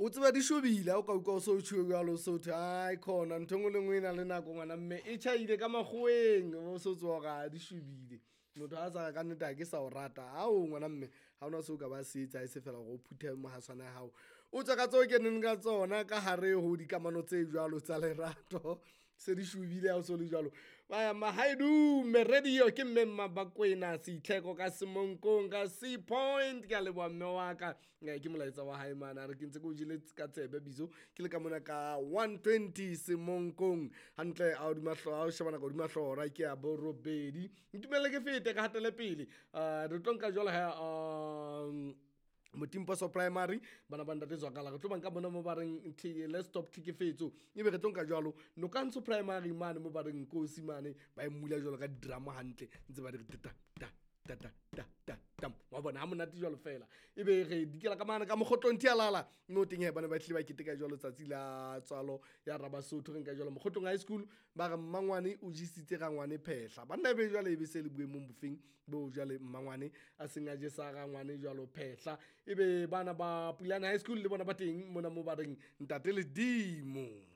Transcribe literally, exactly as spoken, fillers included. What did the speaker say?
O tseba di shobile ha o ka utlwa o so tjho jwalo, o so thwe ai khona ntho e nngwe le nngwe e na le nako ngwana mme e tjhaile ka makgoweng, o so tseba hore ha di shobile. Motho ha sa re kannete ha ke sa o rata, ao ngwana mme ha hona seo ka ba se etsa ha e se feela hore o phuthe mohaswana ya hao, o tswe ka tseo keneng ka tsona ka hare ho dikamano tse jwalo tsa lerato. Se di shobile ha o so le jwalo. Mahaedume radio ke mme Mmabakwena Seitlheko ka Semonkong ka Sea Point. Ke a leboha mme wa ka, ke molaetsa wa hae mane a re ke ntse ke o jele ka tsebe bizo ke le ka mona ka one twenty Semonkong hantle a hodima hlooho, ha o sheba nako hodima hlooho hora ke ya borobedi. Ntumelle ke fete ka hatele pele, re tlo nka jwalo ha um Motimposo Primary bana ba ntate Zwakala re tlo ba nka mona mo ba reng let's stop tlhekefetso, ebe re tlo nka jwalo Nokantsho Primary mane mo ba reng Nkosi mane ba e mmula jwalo ka di-drum hantle ntse ba di re ta ta ta ta ta ta tam wa bona ha monate jwalo fela. Ebe re dikela ka mane ka Mokgotlong Thialala mo teng he bana ba hlile ba keteka jwalo tsatsi la tswalo ya Rabasotho. Re nka jwalo Mokgotlong High School ba re mmangwane o jesitse rangwane phehla banna, ebe jwale ebe se le boemong bofeng bo jwale mmangwane a seng a jesa rangwane jwalo phehla. Ebe bana ba Pulane High School le bona ba teng mona mo ba reng ntate Ledimo.